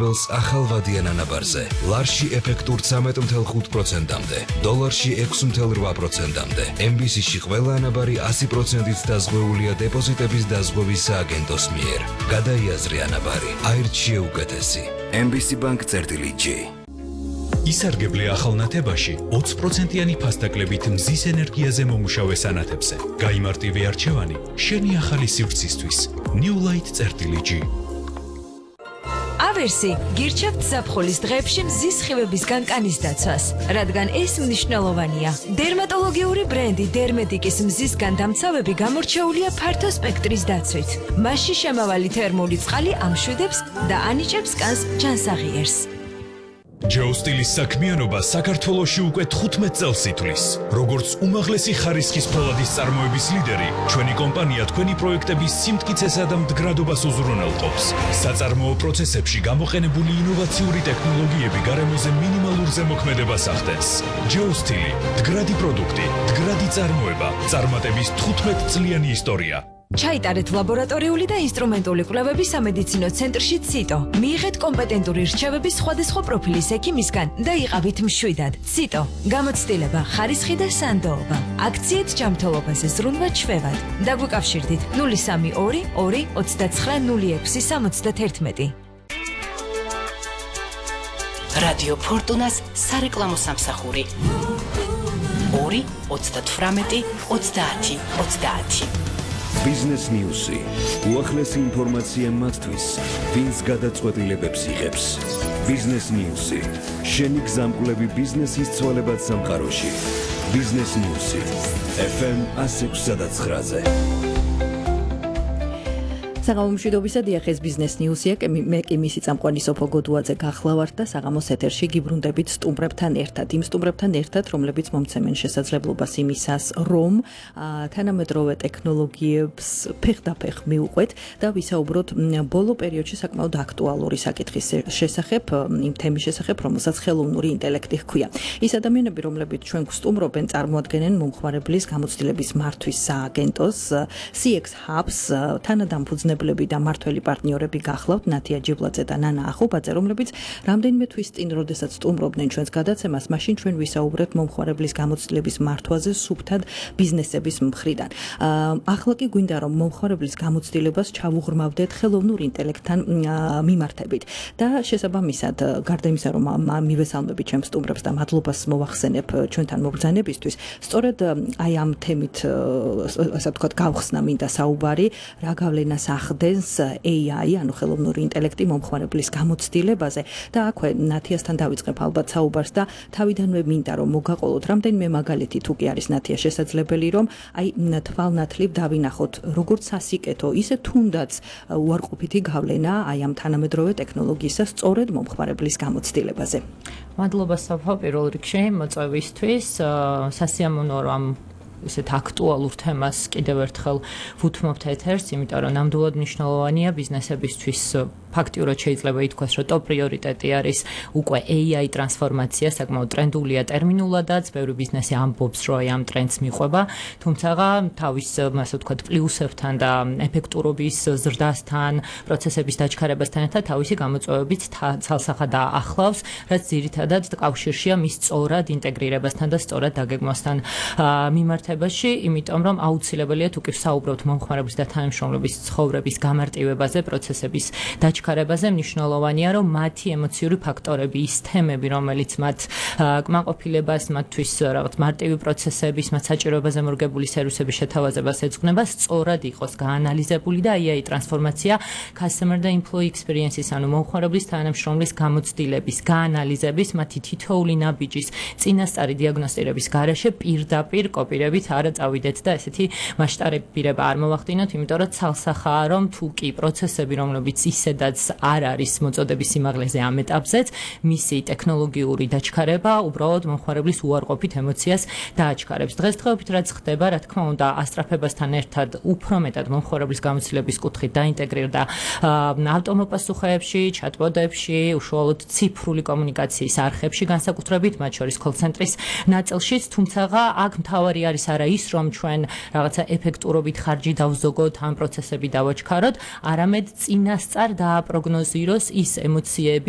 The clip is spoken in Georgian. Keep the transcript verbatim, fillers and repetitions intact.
მაუწყებელს ახალ ვადიან ანაბარზე. ლარში ეფექტურ ცამეტ ათი პროცენტამდე, დოლარში ექვსი ათი პროცენტამდე. ემ ბი სი-ში ყველა ანაბარი ასი პროცენტით დაზღვეულია დეპოზიტების დაზღვევის სააგენტოს მიერ. გადაიაზრე ანაბარი, აირჩიე უკეთესი. ემ ბი სი Bank წერტილი ჯი. ისარგებლე ახალნათებაში ოცი პროცენტიანი ფასდაკლებით მზის ენერგიაზე მომუშავე სანათებზე. გაიმარტივე არჩევანი შენი ახალი სივრცისთვის. New Light წერტილი ჯი. ავერსი გირჩევთ ზაფხულის დღეებში მზის სხივების განკანის დაცვას, რადგან ეს მნიშვნელოვანია. დერმატოლოგიური ბრენდი დერმედიკის მზისგან დამცავები გამორჩეულია ფართო სპექტრის დაცვით. მასში შემავალი თერმული წყალი ამშვიდებს და ანიჭებს კანს ჯანსაღიერს. ჯეოსტილის საქმიანობა საქართველოში უკვე თხუთმეტ წელს ითვლის. როგორც უმაღლესი ხარისხის ფოლადის წარმოების ლიდერი, ჩვენი კომპანია თქვენი პროექტების სიმტკიცესა და მდგრადობას უზრუნველყოფს. საწარმოო პროცესებში გამოყენებული ინოვაციური ტექნოლოგიები გარემოზე მინიმალურ ზემოქმედებას ახდენს. ჯეოსტილი, მდგრადი პროდუქტი, მდგრადი წარმოება, წარმატების თხუთმეტწლიანი ისტორია. ჩაიტარეთ ლაბორატორიული და ინსტრუმენტული კვლევები სამედიცინო ცენტრში ციტო. მიიღეთ კომპეტენტური რჩევები სხვადასხვა პროფილის ექიმისგან და იყავით მშვიდად. ციტო. გამოცდილება, ხარისხი და სანდოობა. აქციით ჯანმრთელობაზე ზრუნვა ჩვევად. დაგვიკავშირდით ნული სამი ორი ორი ოცდაცხრა ნული ექვსი სამოცდაათი. რადიო ფორტუნას სარეკლამო სამსახური ორი ოცდათვრამეტი ოცდაათი ოცდაათი. Business News-ი. უახლესი ინფორმაცია მათთვის, ვინც გადაწყვეტილებებს იღებს. Business News-ი. შენი გზამკვლევი ბიზნესის ცვალებად სამყაროში. Business News-ი. ეფ ემ εκατო ექვსი და ცხრაზე. საღამო მშვიდობისა, დიახ, ეს Business News-ია, მე კი მისი წამყვანი სოფო გოდუაძე გახლავართ და საღამოს ეთერში გიბრუნდებით სტუმრებთან ერთად. იმ სტუმრებთან ერთად, რომლებიც მომცემენ შესაძლებლობას იმისას, რომ თანამედროვე ტექნოლოგიებს ფეხდაფეხ მივყვეთ და ვისაუბროთ ბოლო პერიოდში საკმაოდ აქტუალური საკითხის შესახებ, იმ თემის შესახებ, რომელსაც ხელოვნური ინტელექტი ჰქვია. ის ადამიანები, რომლებიც ჩვენ გვსტუმრობენ, წარმოადგენენ მომხმარებლის გამოცდილების მართვის სააგენტოს სი ექს Hubs თანადამფუძნებელი და მართველი პარტნიორები გახლავთ ნათია ჯიბლაძე და ნანა ახუბაძე, რომლებიც რამდენიმე თვის წინ, როდესაც სტუმრობდნენ ჩვენს გადაცემას, მაშინ ჩვენ ვისაუბრეთ მომხმარებლის გამოცდილების მართვაზე სუფთად ბიზნესების მხრიდან. ახლა კი გვინდა რომ მომხმარებლის გამოცდილებას ჩავუღრმავდეთ ხელოვნურ ინტელექტთან მიმართებით და შესაბამისად, გარდა იმისა, რომ მივესალმებით ჩემს სტუმრებს და მადლობას მოვახსენებ ჩვენთან მობრძანებისთვის, სწორედ აი ამ თემით, ასე ვთქვათ, გავხსნა მინდა საუბარი, რა გავლენას ახდენს ეი აი, ანუ ხელოვნური ინტელექტი მომხმარებლის გამოცდილებაზე და აქვე ნათიასთან დავიწყებ ალბათ საუბარს და თავიდანვე მინდა რომ მოგაყოლოთ რამდენიმე მაგალითი, თუ კი არის ნათია შესაძლებელი, რომ აი თვალნათლივ დავინახოთ როგორც სასიკეთო, ისე თუნდაც უარყოფითი გავლენა აი ამ თანამედროვე ტექნოლოგიისა სწორედ მომხმარებლის გამოცდილებაზე. მადლობა საფო პირველ რიგში მოწვევისთვის, სასიამოვნოა რომ ისეთ აქტუალურ თემას კიდევ ერთხელ ვუთმობთ ეთერს, იმიტომ რომ ნამდვილად მნიშვნელოვანია ბიზნესებისთვის. ფაქტიურად შეიძლება ითქვას, რომ ტოპ პრიორიტეტი არის უკვე ეი აი ტრანსფორმაცია, საკმაოდ ტრენდულია ტერმინულადაც, ბევრი ბიზნესი ამბობს, რომ აი ამ ტრენდს მიყვება, თუმცა თავის, ასე ვთქვათ, პლუსებთან და ეფექტურობის ზრდასთან, პროცესების დაჩქარებასთან ერთად თავისი გამოწვევებით ცალსახად ახლავს, რაც ძირითადად კავშირშია მის სწორად ინტეგრირებასთან და სწორად დაგეგმვასთან მიმართებაში, იმიტომ რომ აუცილებელია თუ კი ვსაუბრობთ მომხმარებლის და თანამშრომლების ცხოვრების გამარტივებაზე, პროცესების დაჩქარებაზე, ჩქარებაზე მნიშვნელოვანია, რომ მათი ემოციური ფაქტორები, ის თემები, რომელიც მათ კმაყოფილებას, მათთვის რაღაც მარტივი პროცესების, მათ საჭიროებაზე მორგებული სერვისების შეთავაზებას ეძღვნება, სწორად იყოს გაანალიზებული და ეი აი ტრანსფორმაცია customer და employee experience-ის, ანუ მომხმარებლის თანამშრომლის გამოცდილების, გაანალიზების, მათი თითოეული ნაბიჯის წინასწარი დიაგნოსტირების გარეშე პირდაპირ კოპირებით არა წავიდეთ და ესეთი მასშტაბირება არ მოვახდინოთ, იმიტომ რომ ცალსახაა, რომ თუ კი პროცესები, რომლებიც ისედაც არ არის მოწოდების სიმაღლეზე ამ ეტაპზეც, მისი ტექნოლოგიური დაჩქარება უბრალოდ მომხმარებლის უარყოფით ემოციას დააჩქარებს. დღესდღეობით რაც ხდება, რა თქმა უნდა, ასტრაფებასთან ერთად უფრო მეტად მომხმარებლის გამოცდილების კუთხით დაინტეგრირდა ავტომოპასუხეებში, ჩატბოტებში, უშუალოდ ციფრული კომუნიკაციის არხებში, განსაკუთრებით მათ შორის კოლ-ცენტრის ნაწილშიც, თუმცა აქ მთავარი არის არა ის, რომ ჩვენ რაღაცა ეფექტურობით ხარჯი დავზოგოთ, ამ პროცესები დავაჩქაროთ, არამედ წინასწარ დააპროგნოზიროს ის ემოციები,